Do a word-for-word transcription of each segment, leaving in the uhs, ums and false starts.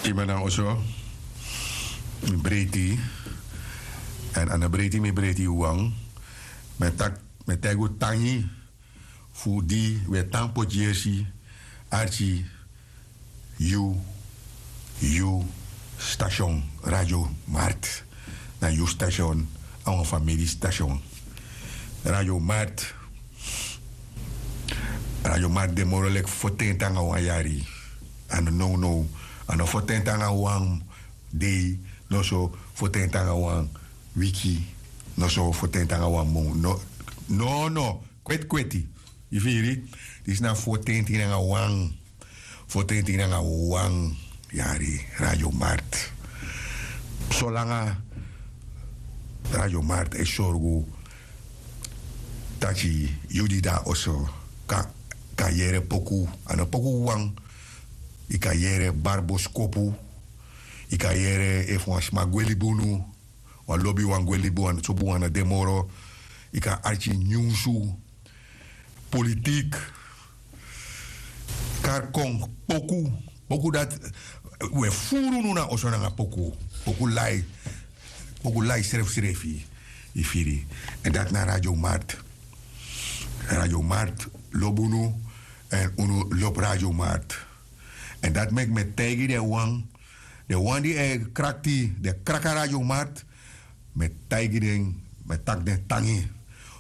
Yu ben na oso, mi breiti. Èn a no breiti mi breiti yu wan. Mi e taki, mi e taigi un tangi fu di wi e tan poti yesi arki yu, yu station, Radio Mart. Na yu station, a wan famiri station. Radio Mart, Radio Mart de moro leki fotenti nanga wan yari. A no nownow, a no fotenti nanga wan dei, noso fotenti nanga wan wiki, noso fotenti nanga wan mun. No, no, no, kweti kweti. Yu firi? Disi na fotenti nanga wan. Fotenti nanga wan yari Radio Mart. Solanga Radio Mart e sorgu taki yu di de na oso kan, kan yere poku. A no poku wan. Yu kan yere bari boskopu. Yu kan yere efu wan sma gwe libi unu, wan lobiwan gwe libi unu, so bun wan no de moro. Yu kan arki nyunsu, politik, kari kon, poku. Poku dati, wi e furu unu na oso nanga poku. Poku lai, poku lai srefisrefi. Yu firi? Èn dati na Radio Mart. Radio Mart lobi unu, èn unu lobi Radio Mart. Èn dati meki mi e taigi den wan, den wan di e krakti, den kraka Radio Mart, mi e taigi den, mi e taki den tangi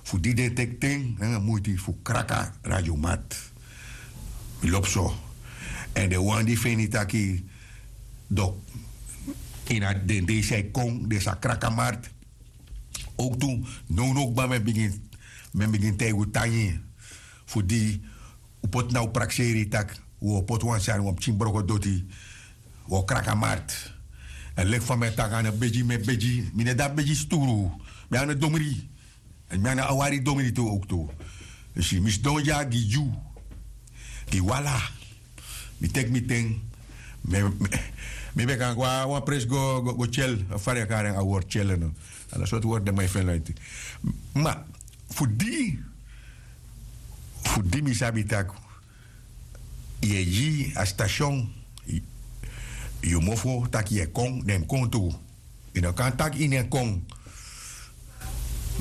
fu di den teki ten nanga muiti fu kraka Radio Mart. Mi lobi so. Èn den wan di feni taki, dok, ini a den dei san e kon den sa kraka Mart. Owktu, nownow kba mi e bigin, mi e bigin taigi un tangi fu di un poti na un prakseri taki un o poti wan sani, wan pikin brokodoti, un o kraka Mart. Èn leki fa mi e taki, a no begi mi e begi, mi no de a begi sturu. Mi a no domri. Èn mi a no awari domri tu owktu. Yu si, mi sidon dya gi yu, gi wala. Mi teki mi ten. Mi, mi, mi ben kan go na wan presi go, go, go tyel. A fa den e kari en, a word tyel no. A na sortu word de, mi e feni na iti. Ma fu di, fu di mi sabi taki yu e gi a station, yu, yu mofo taki yu e kon, dan yu mus kon tu. Yu no kan taki yu no e kon.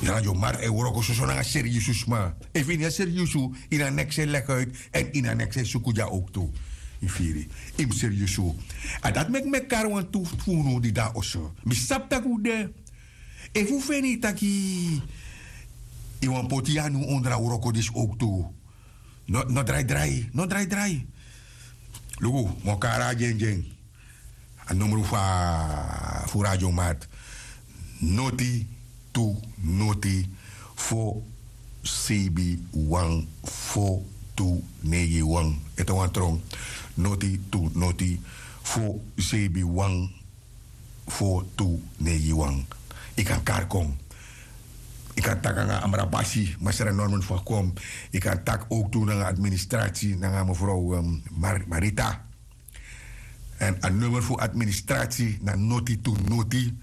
Radio Mart e wroko soso nanga seriusu sma. Efu yu no e seriusu, yu na neks e legi uit, èn yu na neks e suku dya owktu. Yu firi? Yu mus seriusu. A dati meki mi e kari wantu fu unu di de na oso. Mi sabi taki un de. Efu un feni taki yu wani poti yu anu ondro a wroko disi owktu, no, no drai drai, no drai drai. Luku, mi o kari a dyendyen. A numru fu a, fu Radio Mart: noti tu noti fo sebi wan fo tu neigi wan. Ete wan tron: noti tu noti fo sebi wan fo tu neigi wan. Yu kan kari kon. Yu kan taki nanga Amrabasi, Masra Norman Fakom. Yu kan taki owktu nanga administratie, nanga mevrouw, ehm, Mar-, Marita. Èn a numru fu administratie na noti tu noti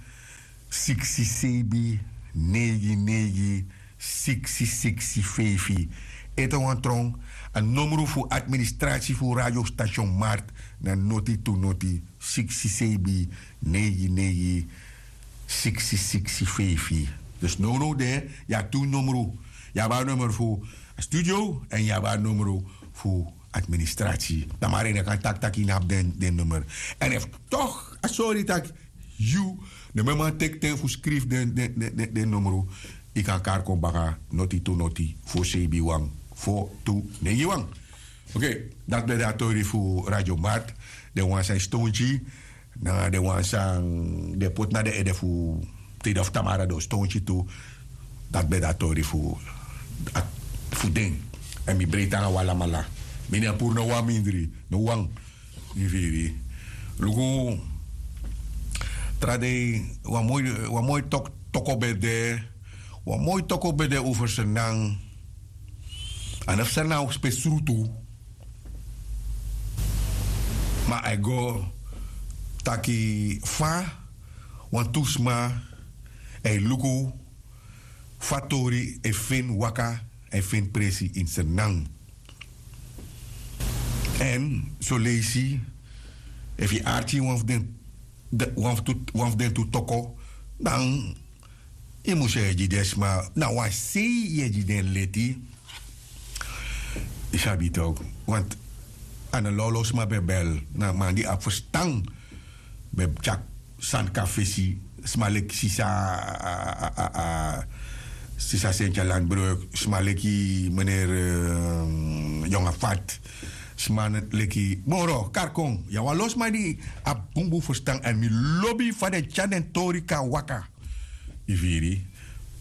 siksi sebi neigi neigi siksi siksi feifi. Ete wan tron, a numru fu administratie fu radiostation Mart na noti tu noti siksi sebi neigi neigi siksi siksi feifi. Dus nownow de, yu abi tu numru. Yu abi a numru fu studio èn yu abi a numru fu administratie. Tamara yu no kan taki taki yu no abi den, den numru. Èn efu toch a sori taki yu no ben man teki ten fu skrifi den, den, den, den, den numru, yu kan kari kon baka: noti tu noti fo sebi wan fo tu neigi wan. Oké, dati ben de a tori fu Radio Mart. Den wan san e stonti, nanga den wan san den poti na den ede fu tide of tamara den o stonti tu. Dati ben de a tori fu, a, fu den. Èn mi breiti nanga un alamala. Mi no e puru no wan mindri, no wan. Yu firi? Luku, tra dei, wan moi, wan moi tok-, toko ben de, wan moi toko ben de over Sranan. A no fu Sranan, fu pe srutu. Ma a e go taki fa wantu sma e luku fa tori e feni waka, e feni presi ini Sranan. Èn soleisi Efu yu arki wan fu den, wan fu den tu toko, dan yu mus e gi den sma na wan sei yu e gi den leti. Yu sabi tok', want a no lawlaw sma ben bel, na man di abi ferstan ben tyari sani kon na fesi. Sma leki sisa, sisa sentia landbreuk, sma leki meneer yonga fat, sma leki moro karkon. Ya wan lo sma di abi bunbun ferstan èn mi lobi fa den tyari den tori kon na waka. Yu firi?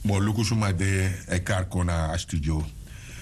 Moro luku suma de e karkon na a studio.